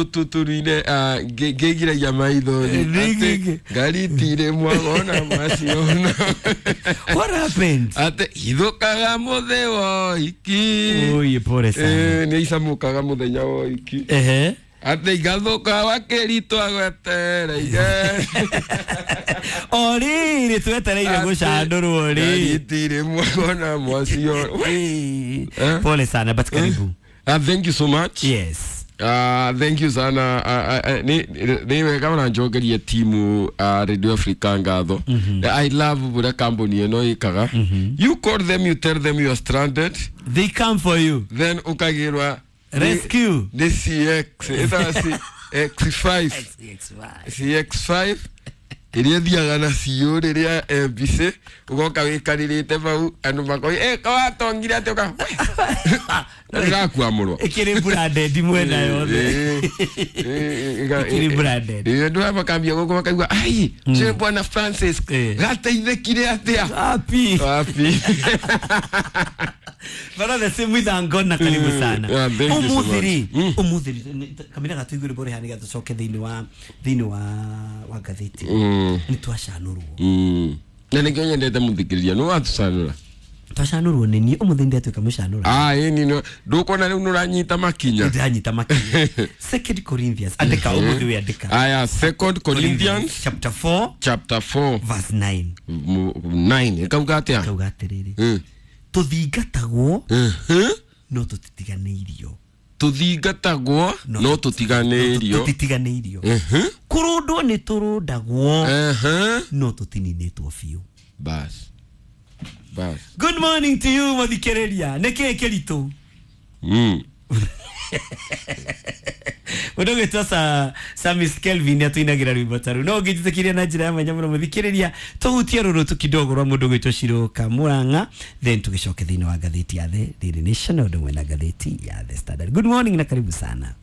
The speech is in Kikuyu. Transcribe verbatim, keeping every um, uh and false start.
Tuturuine ngĩgiragia maitho Nĩ- ngari itirĩ mwagona maciona. What happened? Atĩ ithũkaga mũthĩ woiki. Oye, pole sana. Eh, nĩ icamũkaga mũthenya woiki. Ehe. Atĩ igathũka wakĩritwa gwetereire. O rĩrĩ twetereire gũcandũrwo Ngari rĩ. itirĩ mwagona mwaciona. Eh, Eh? Pole sana, but karibu. Ah, thank you so much. Yes. Uh, thank you sana. uh, uh, ni ni wega ona njokerie timu uh, Radio Africa ngatho. I love buria kambuni ĩno ĩkaga. You call them, you tell them you are stranded, They come for you. then ukagirwa Rescue. ni C X ĩtaga C X five. C X five ĩrĩa ĩthiaga na ciũ rĩrĩa M B C ũgoka wĩkarĩrĩte bau andũ makoi eh kawatongire atĩ ũka ndĩrakuamũrwo. Ĩkĩrĩ branded mwena yothe. Ĩkĩrĩ branded. Andũ aya makambia gũkũ makaigua ai cio bwana Francis Eh. gateithĩkire atĩa. Wapi? Wapi. But the same with Angona, karibu sana. Yeah, thank you so much. Ũmũthĩ rĩ, Mm. ũmũthĩ rĩ, kamĩra gatuigũrĩ bore hani gatũcoke thĩinĩ wa thĩinĩ wa wa ngathĩti. Mm. Nĩ twacanũrwo. Mm. Na nĩkĩo nyendete mũthikĩrĩria nĩ watucanũra. Twacanũrwo nĩ niĩ ũmũthĩ ndĩatuĩka mũcanũra. Ah, ĩni no ndũkuona rĩu nĩũranyita makinya. Ndĩranyita makinya. Second Corinthians, andĩka ũmũthĩ wĩ andĩka. Aya, Second Corinthians chapter four chapter four verse nine. nine ĩkauga atĩa? Kauga atĩrĩrĩ, Mm. tũthingatagwo Mhm. no tũtitiganĩirio. Tũthingatagwo no tũtiganĩirio. Tũtitiganĩirio. Mhm. Kũrũndwo nĩ tũrũndagwo Ehe. no tũtininĩtwo biũ. Bas bas. Good morning to you, mũthikĩrĩria. Nĩ kĩĩ kĩritũ? Mm. Mũndũ ũgwĩtwo sa Samis Kelvin atũinagĩra rwĩmbo ta rũu no ũngĩnjĩtĩkĩria na njĩra ya mwanya mũno mũthikĩrĩria tũhutie rũrũ kidogo rwa mũndũ ũgwĩtwo Shiroka Murang'a, then tũgĩcoke thĩinĩ wa ngathĩti ya The Daily Nation na ũndũ ũmwe na ngathĩti ya The Standard. Good morning na karibu sana.